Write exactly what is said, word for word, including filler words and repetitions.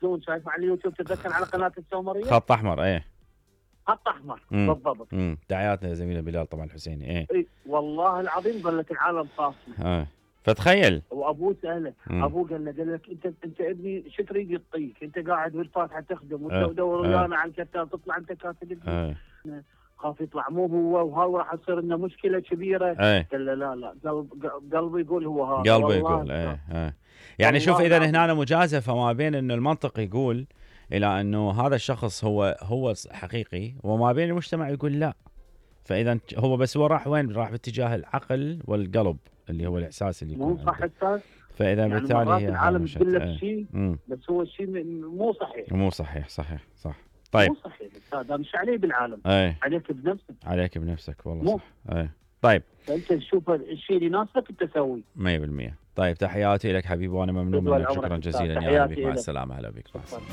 يرسلون، شايف على اليوتيوب تتذكر على قناه السومريه؟ خط احمر ايه خط احمر مم. بالضبط. امم تحياتنا زميلنا بلال طبعا الحسيني. ايه اي والله العظيم ظلت العالم صافيه. اه فتخيل وابوه ساله، مم. ابوه قال له قال لك انت انت ابني شو تريد يعطيك؟ انت قاعد بالفاتحه تخدم آه. وتدور آه. ويانا على الكتاب تطلع انت كاتب ابني. اه خاف يطلع مو هو وهاو راح تصير لنا مشكله كبيره. ايه قال له لا لا قلب قلبي يقول هو هذا. قلبه والله يقول ايه ايه يعني شوف والله اذا العظيم. هنا مجازفه ما بين انه المنطق يقول الى انه هذا الشخص هو هو حقيقي، وما بين المجتمع يقول لا. فاذا هو بس هو راح وين؟ راح باتجاه العقل والقلب اللي هو الاحساس اللي يكون مو صح عنده. استاذ؟ فاذا يعني بالتالي مرات هي العالم هامشت. تقول لك ايه. شيء مم. بس هو الشيء مو صحيح. مو صحيح صحيح صح. طيب مو صحيح استاذ، مش عليه بالعالم. ايه عليك بنفسك. عليك بنفسك والله مو. صح. ايه طيب فانت تشوف الشيء اللي يناسبك انت سويه. مية بالمية. طيب تحياتي لك حبيبي وانا ممنون تطول منك، عمرك شكرا أستاذ. جزيلا. يا تحياتي حبيبي مع إلك. السلامه. هلا بك. مع السلامه.